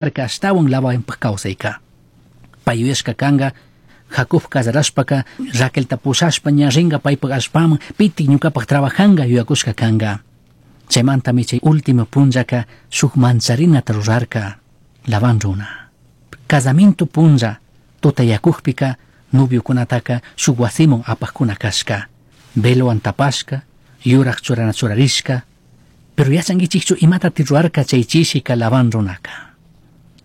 Ashtawan Labanpaj kawsayka. Pay yuyashka kanga Jacob kazarashpaka Raquelta pushashpa ña ringa paypaj allpaman, pitik ñukapaj trabajanga yuyakushka kanga. Chaymantami chay último punllaka shuk mancharinata rurarka Labán runa. Casamiento punlla tutayakukpika noviokunataka shuk wasiman apajkuna kashka. Velowan tapashka, yuraj churana churarishka. Pero yachankichikchu imatati rurarka chay chishika Labán runaka.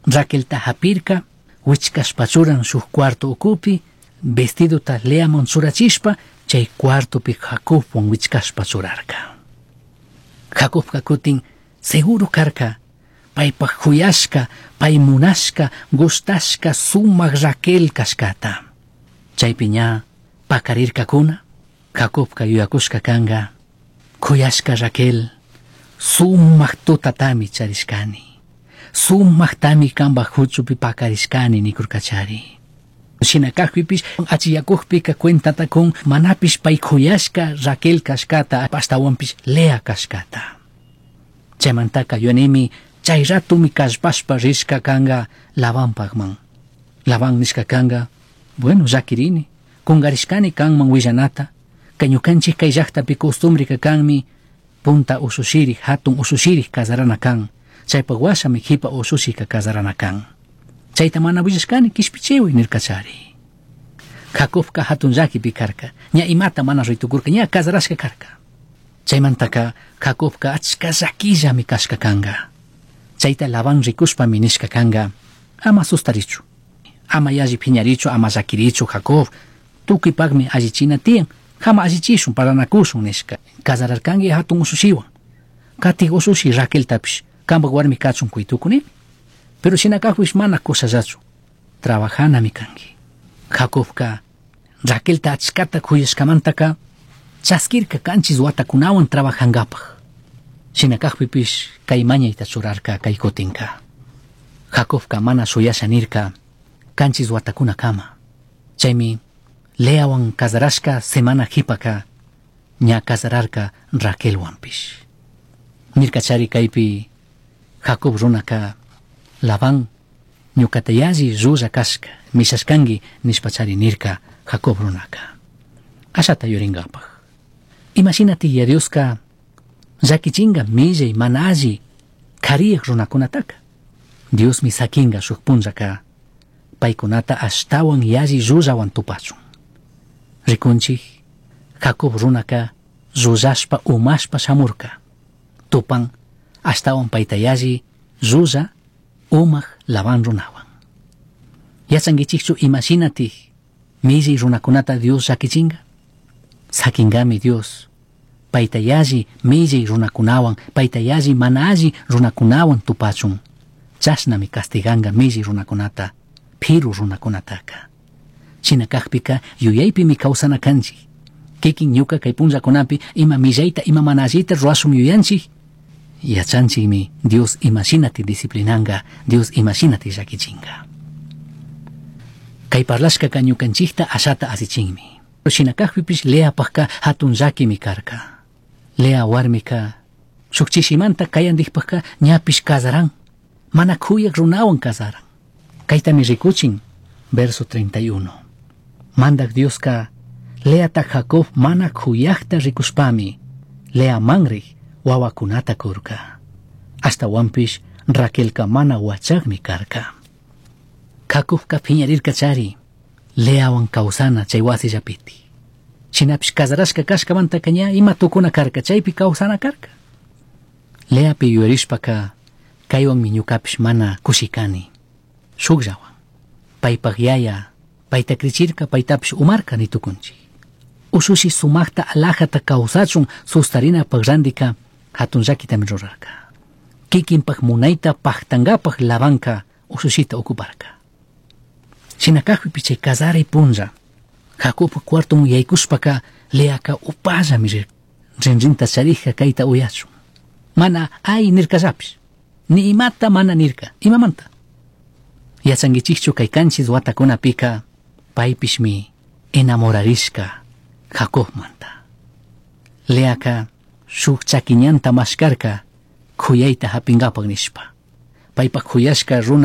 Raquelta hapirka, wichkashpa churan shuk cuarto ukupi, vestidota Leaman churachishpa, chay cuartopi Jacobwan wichkashpa churarka. Jacobka kutin seguro karka, paypaj juyashka, pay munashka, gustashka sumak Raquel kashkata. Chaypi ña pakarirkakuna, Jacobka yuyakushka kanga, kuyashka Raquel, sumak tutatami charishkani. Sumaktami kanpaj huchupi pakarishkani nikurkachari. Shina kakpipish achiyakukpika cuentata kun manapish pay kuyashka Raquel kashkata, ashtawanpish Lea kashkata. Chaymantaka yuyanimi chay ratumi kallpashpa rishka kanga Labanpakman. Labán nishka kanga, bueno, llakirini, kungarishkani kanman willanata, kay ñukanchik kay llaktapi costumbreka kanmi, punta usushiri, hatun usushiri kazarana kan. Chaypaq washami jipa usushika kazarana kan. Chayta mana willashkani kishpichiwi nirkachari. Jacobka hatun llakipi karka, ña imata mana ritukurka, ña kazarashka karka. Chaymantaka Jacobka achka llakillami kashka kanga. Chayta Labán rikushpami nishka kanga, ama sustarichu, ama yalli phiñarichu, ama llakirichu Jacob, tukuypakmi allichina tiyan, hama allichishun, paranakushun nishka. Kazararkanki hatun usushiwan, katik usushi Raqueltapish, kanpak warmi kachun kuytukuni. Pero shina kakpish mana kusallachu, trabajanami kanki. Jacobka Raquelta achkata kuyashkamantaka chaskirka kanchis watakunawan trabajankapaj. Shina kakpipish kay mañayta churarka kay kutinka. Jacobka mana shuyasha nirka kanchis watakunakama. Chaymi Leawan kazarashka semana jipaka ña kazararka Raquelwanpish. Nirkachari kaypi Jacob runaka Labán ñukata yalli llulla kashka mishashkanki nishpachari nirka Jacob runaka. Ashata yurinkapaj. Imashinati ya Dioska llakichinga millay mana alli kariyaj runakunataka. Diosmi sakinga shuk punllaka paykunata ashtawan yalli llullawan tupachun. Rikunchik Jacob runaka llullashpa umashpa shamurka. Tupan ashtawan payta yalli llulla umaq Labán runawan. Yachankichikchu imashinatik millay runakunata Dios llakichinga? Sakinkami Dios payta yalli millay runakunawan, payta yalli mana alli runakunawan tupachun. Chashnami castiganka millay runakunata, phiru runakunataka. Shina kakpika yuyaypimi kawsana kanchik. Kikin ñuka kay punllakunapi ima millayta, ima mana allita ruwashun yuyanchik. Yachanchikmi Dios imashinati disciplinanga, Dios imashinati llakichinga. Kay parlashkaka ñukanchikta ashata asichinmi. Shina kakpipish Leapajka hatun llakimi karka. Lea warmika shuk chishimanta kayandikpajka ñapish kazaran, mana kuyak runawan kazaran. Kaytami rikuchin, verso 31. Mandak Dioska Leata Jacob mana kuyakta rikushpami, Lea manrik wawakunata kurka. Ashtawanpish Raquelka mana wachakmi karka. Jacobka phiñarirka chari, Leawan kawsana chay wasillapiti. Shinapish kazarashka kashkamantaka ña ima tukuna karka, chaypi kawsana karka. Leapi yuyarishpaka kaywanmi ñukapish mana kushikani. Shukllawan. Paypak yaya, payta krichirka, paytapish umarka nitukunchik. Ushushi sumakta alajata kawsachun sustarinapaj randika hatun llakitami rurarka. Kikinpak munayta paktankapaj Labanka ushushita ocuparka. Shina kakpipi chay kazaray punlla, Jacobpa cuartoman yaykushpaka Leaka upallami rirka. Rinrinta charija kayta uyachun. Mana ay nirkallapish. Ni imata mana nirka. Imamanta? Yachankichikchu kay kanchis watakunapika paypishmi enamorarishka Jacobmanta. Leaka shuk chakiñanta mashkarka kuyayta hapinkapak nishpa. Paipak juyashka runa.